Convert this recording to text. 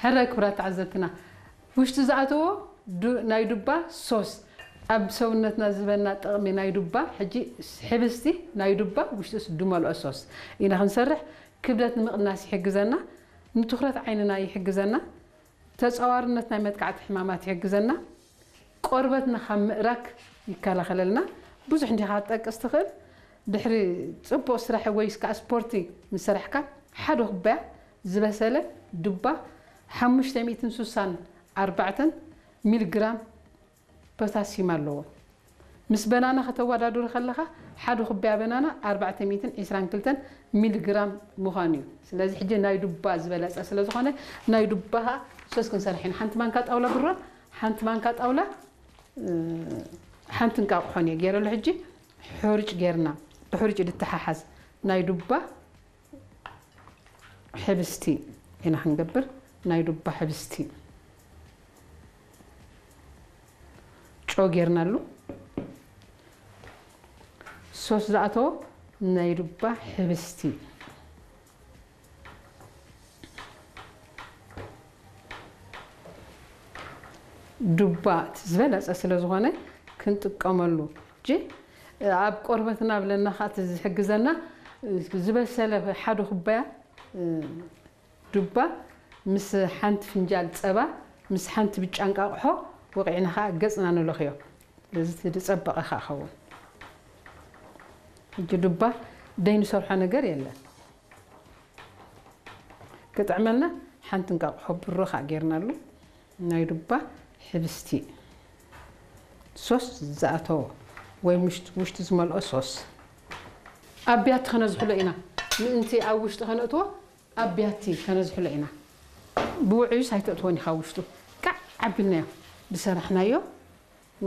ሕረ ክብራት ተዓዘብትና፣ ውሽጢ ዝኣተዎ ዱ-፣ ናይ ዱባ ሶስ ኣብ ሰውነትና ዝህበና ጥቕሚ፣ ናይ ዱባ ሕጂ ሕብስቲ፣ ናይ ዱባ ውሽጥስ ድመልኦ ሶስ ኢና ክንሰርሕ። ክብደት ንምቕናስ ይሕግዘና፣ ንትኹረት ዓይንና ይሕግዘና፣ ተጻዋርነት ናይ መጥቃዕቲ ሕማማት ይሕግዘና፣ ቆርበትና ካብ ምእራግ ይከላኸለልና። ብዙሕ እንዲኻ ክትጠቅስ ትኽእል። ድሕሪ ጽቡቕ ስራሕ ወይስ ከዓ ስፖርቲ ምስ ሰራሕካ፣ ሓደ ኩባያ ዝበሰለ ዱባ ሓሙሽተ ሚእትን ስሳን ኣርባዕተን ሚሊግራም ፖታሲየም ኣለዎ። ምስ በናና ከተወዳድሮ ከለኻ፣ ሓደ ኩባያ በናና ኣርባዕተ ሚእትን ዕስራን ክልተን ሚሊግራም ምዃኑ እዩ። ስለዚ ሕጂ ናይ ዱባ ዝበለጸ ስለ ዝኾነ፣ ናይ ዱባ ሶስ ክንሰርሕ ኢና። ሓንቲ ማንካ ጣውላ ብሮ፣ ሓንቲ ማንካ ጣውላ፣ እ፣ ሓንቲ እንቃቑሖን እየ ገይረሉ። ሕጂ ሕሩጭ ገይርና፣ ብሕሩጭ ድተሓሓዝ ናይ ዱባ ሕብስቲ ኢና ክንገብር። ናይ ዱባ ሕብስቲ ጨው ጌርናሉ። ሶስ ዝኣተዎ ናይ ዱባ ሕብስቲ። ዱባ እቲ ዝበለጸ ስለ ዝኾነ ክንጥቀመሉ። እጂ ኣብ ቆርበትና ብለና ኸኣ እቲ ዝሕግዘና ዝበሰለ ሓደ ኩባያ ዱባ ምስ ሓንቲ ፍንጃል ጸባ፣ ምስ ሓንቲ ብጫ እንቃቑሖ ወቒዕና ኸኣ ገጽና ንለኽዮ። እዚ እቲ ዝጸበቐ ኸኣ ኸውን። ሕጂ ዱባ ደይንሰርሖ ነገር የለን። ክጥዕመልና ሓንቲ እንቃቑሖ ብሮ ኸኣ ጌርናሉ። ናይ ዱባ ሕብስቲ ሶስ ዝኣተዎ ወይ ውሽጢ፣ ውሽጢ ዝመልኦ ሶስ። ኣብ ቢያቲ ከነዝሕሎ ኢና። ምእንቲ ኣብ ውሽጢ ከነእትዎ ኣብ ቢያቲ ከነዝሕሎ ኢና። ብውዑዩስ ኣይተእትዎን ኢኻ ውሽጡ። ቃዕ ኣቢልናዮ ብሰራሕናዮ